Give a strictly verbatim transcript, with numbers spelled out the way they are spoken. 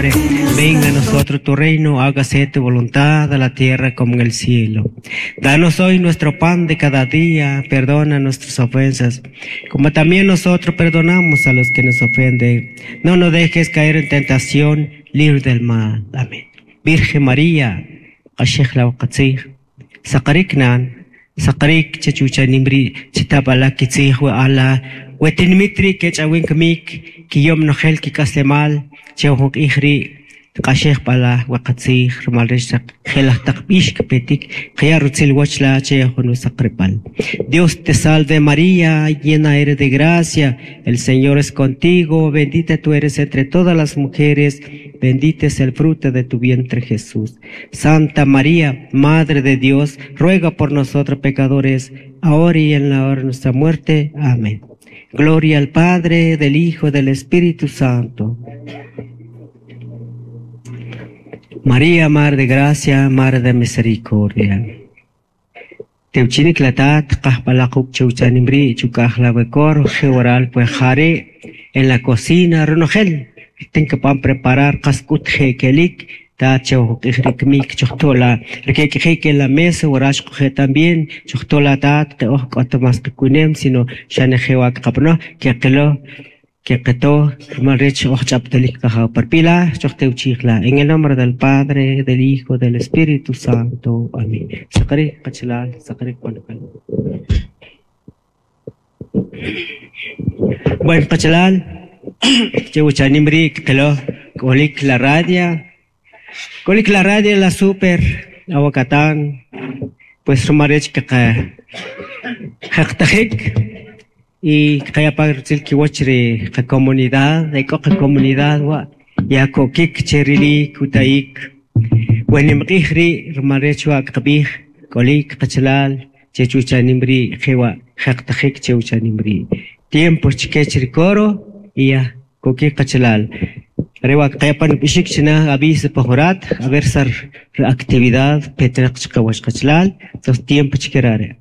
Venga a nosotros tu reino, hágase tu voluntad a la tierra como en el cielo. Danos hoy nuestro pan de cada día, perdona nuestras ofensas, como también nosotros perdonamos a los que nos ofenden. No nos dejes caer en tentación, libre del mal. Amén. Virgen María, q'axej la waqatzij, saqarik nan, saqarik chachucha nimri, chitabala kitzij we ala, we tinmitri kech'awin kmik, kiyom nojel kik'aslemal, chew ijri, q'axej b'ala waqatzij, rumal rech saq jelaj taq b'ix kpetik, qaya rutzil wachla che jun saqripal. Dios te salve María, llena eres de gracia, el Señor es contigo, bendita tú eres entre todas las mujeres, bendito es el fruto de tu vientre Jesús. Santa María, Madre de Dios, ruega por nosotros pecadores, ahora y en la hora de nuestra muerte. Amén. Gloria al Padre, del Hijo, del Espíritu Santo. María, Mar de Gracia, Mar de Misericordia. Teuchinik latat, qahpalaquk cheuchanimri, chukajlawekor, jeoral, pues jare, en la cocina, ronojel, ten que pan preparar, qaskut jekelik, ta cheuqijrikmik, chohtola, requequejeque en la mesa, orashquje también, chohtola tat, que oh, más que sino xanejewak qapno, que qelo, que qeto, rumal rech oj ch'aptelik qajaw parpila, chohteuchijla. En el nombre del Padre, del Hijo, del Espíritu Santo. Amén. Saqari qachalal, saqari qonojel. Bueno, qachalal, cheuchanimri qelo, kolik la radia, kolik la radia la super, aguacatán, pues rumal rech que jaqtajik, y kaya pa rutzil kiwach ri qa comunidad, eko qa comunidad wa, ya kokik cherili kutaik, wenimq'ij ri' rumal rech wa qb'ij k'olik qachalal chechuchanim ri' jewa jaqtajik chewchanim ri'. Tiempo chkech ri coro y ya kokik qachalal. Rewa kaya pan b'ixik china aviso pajorat, a ver sar actividad petrenaq chqawach qachalal, entonces tiempo chkerare.